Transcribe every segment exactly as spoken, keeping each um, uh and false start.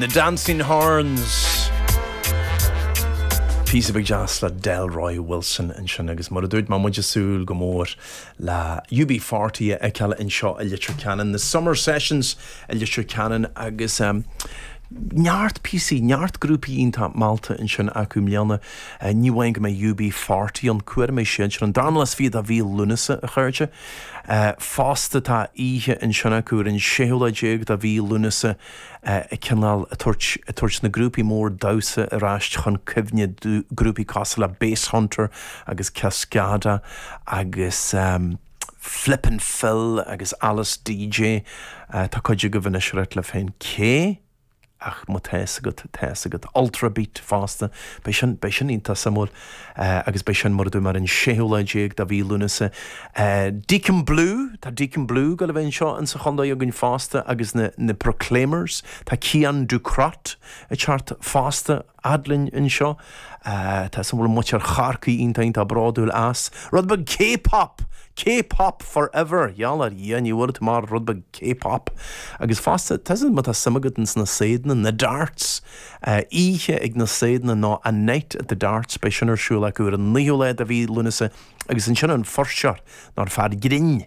Na Dancing Horns. Píosa beag deas le Delroy Wilson ansin agus mar a dúirt mé muid ag súil go mór le U B forty a fheiceáil anseo i Leitir Ceanainn, na Summer Sessions i Leitir Ceanainn agus um, neart píosaí, neart grúpaí iontach meallta ansin acu i mbliana. uh, ní amháin go mbeidh U B forty ann, cuair mé sin an darna lá is fiche de mhí Lúnasa, a chairde. Uh, fosta tá oíche ansin acu ar an séú lá déag de mhí Lúnasa uh, cineál ag tabhairt na grúpaí mór damhsa ar ais chun cuimhne, grúpaí cosúil le Basshunter agus Cascada agus um, Flip and Phil agus Alice D J. uh, tá cuid agaibh anois le féin cé ach má tá agat tá agat Ultrabeat fosta, Be sin be sin iontach suimiúil uh, agus beidh sin mar mar an séú lá déag de mhí Lúnasa. Uh, Deacon Blue, tá Deacon Blue go le bheith anseo in sa chontae againn fosta agus na, na Proclaimers, tá Cian Ducrot ag teacht fosta linn anseo. Uh, tá san bhfuil muintir Chorcaí iontach bródúil as. Rud beag K-pop! K-pop forever, Jalar dhi ní bhfuil mar rud beag K-pop. Agus fosta má tá suim agat sna séideanna, na darts, uh, oíche ag na séideanna nó a Night at the Darts, beidh sin ar siúl acu ar an naoú lá de mhí Lúnasa agus ansin an fuirseoir nó fear grinn.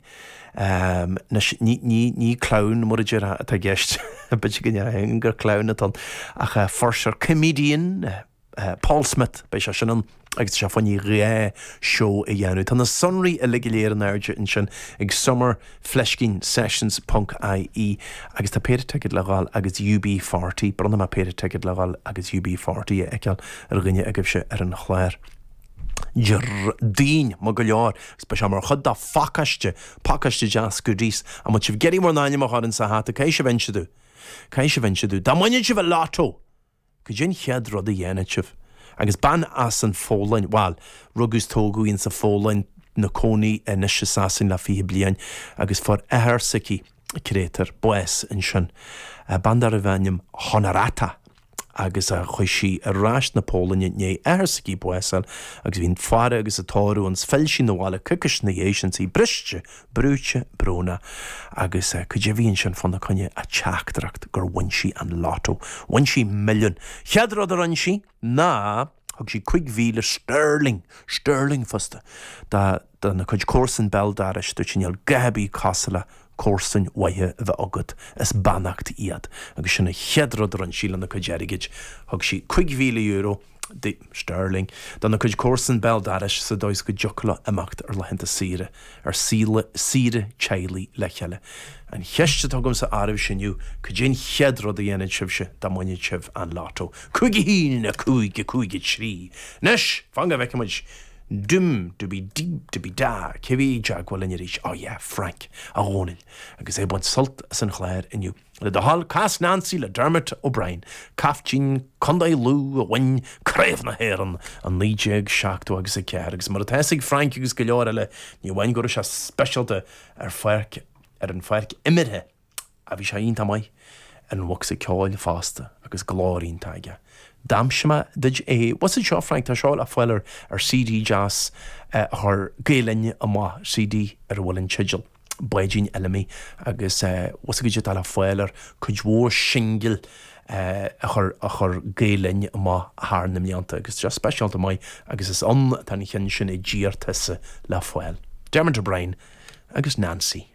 Um, ní, ní, ní clown mar a atá i gceist b'fhéidir gur clown atá ach uh, fuirseoir, comedian uh, uh, Paul Smith, beidh sé sin ann agus sé fanní ré seó a dhéanamh. Tá na sonraí uilig go léir in airde ansin ag summer fleiscín sessions ponc I E agus tá péire ticket le fáil agus U B forty, bronnfaidh mé péire ticket le fáil agus U B forty a fheiceáil ar dhuine agaibhse ar an chlár. Déardaoin má go leor, be mar chud dá phacáiste pacáiste deas goodies a mu sibh gerí mar náine a sa hata cé se bhenseú. Cé se bhenseú, Dá mbuafadh sibh an lotto! Cad é an chéad rud a dhéanfadh sibh. Agus bean as an Pholainn, well, rugadh is tógadh í sa Pholainn, ina cónaí anois i Sasain le fiche bliain agus fuair athair s'aici créatúr bás ansin. Bean darbh ainm Honorata agus a chuaigh sí ar ais na Polainne i ndiaidh athair s'aici bás agus bhí an faire agus a tórramh ann, phill sí abhaile coicís ina dhiaidh sin, í briste, brúite, brónach agus cad é bhí ansin fána choinne a teachtaireacht gur bhain sí an lotto. Bhain sí milliún. Chéad rud a rinne sí ná thug sí cúig mhíle sterling, sterling fosta dá na cuid comharsan béal dorais, dúirt sí níl gaibí cosúil le comharsain mhaithe a bheith agat, is beannacht iad, agus sin an chéad rud a rinne sí lena cuid airgid, thug sí cúig mhíle euro de sterling dona cuid comharsan béal dorais sa dóigh go dtiocfadh leo imeacht ar laethanta saoire, ar saoire saoire teaghlaigh le chéile. An cheist atá agamsa oraibhse inniu, cad é an chéad rud a dhéanfadh sibhse dá mbuafadh sibh an lotto? Cúig a haon a cúig a cúig a trí. Anois fan go bhfeicfimid. Dum du bí dí du bí dá, cé bhí i dteagmháil linn arís? Oh yeah, Frank a Dhónaill agus é ag baint sult as an chlár inniu. Le do thoil, cas Nancy le Dermot O'Brien, caiftín Contae Lú a bhain Craobh na hÉireann i naoi déag seachtó agus a ceathair agus mar atá ag Frank agus go leor eile, ní amháin go raibh sé speisialta ar pháirc ar an pháirc imeartha a bhí sé iontach maith ar an bhosca ceoil fosta agus glór iontach aige. D'aimsigh mé duit é was seo, Frank, tá seo le fáil ar C D deas a chuir Gael Linn amach, C D ar a bhfuil an teideal Báidín Fheilimí agus was go tá le fáil ar cuid mhór singil a chur a chur Gael Linn amach thar na mblianta agus just speisialta maith agus is ann tá an ceann sin I dtír tusa le fáil. Dermot O'Brien agus Nancy.